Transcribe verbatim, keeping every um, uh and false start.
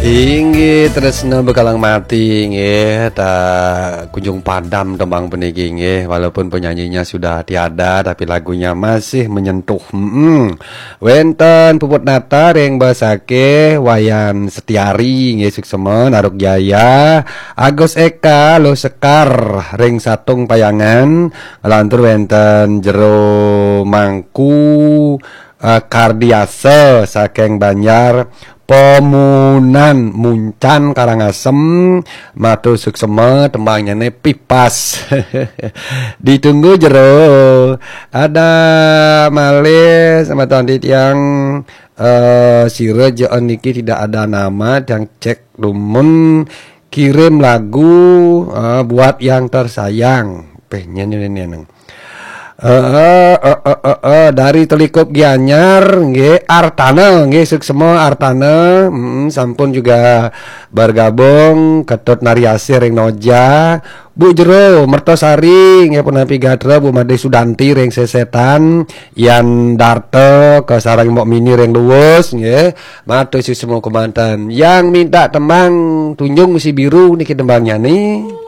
Inggih, tresna bekalang mati, nggih, tak kunjung padam tembang puniki, nggih, walaupun penyanyinya sudah tiada, tapi lagunya masih menyentuh. Mm-mm. Wenten Puput Nata ring Besakih, Wayan Setiari, nggih, suksema, Naruk Jaya, Agus Eka, Luh Sekar, ring Satung Payangan, lantur wenten Jero Mangku, eh, Kardiasa saking Banjar Pemunan Muncan Karangasem, matur suksema, tembangnyane Pipas. Ditunggu Jero. Ada malih sama tadi tiang, eh, sira jaan niki tidak ada nama, tiang cek dumun kirim lagu, eh, buat yang tersayang. Pengen ini, neng. Eh, eh, eh, eh, eh, eh, dari Telikup Gianyar, nggih, Artana, nggih, suksema Artana, mm, sampun juga bergabung, Ketut Nariasih ring Noja, Bu Jero, Mertosari, nggih, punapi gatra, Bu Made Sudanti ring Sesetan, Yan Darta, ke sareng Mbok Mini ring Luwus, nggih, matur suksema kemanten. Yang minta tembang Tunjung Si Biru niki tembangnya nih.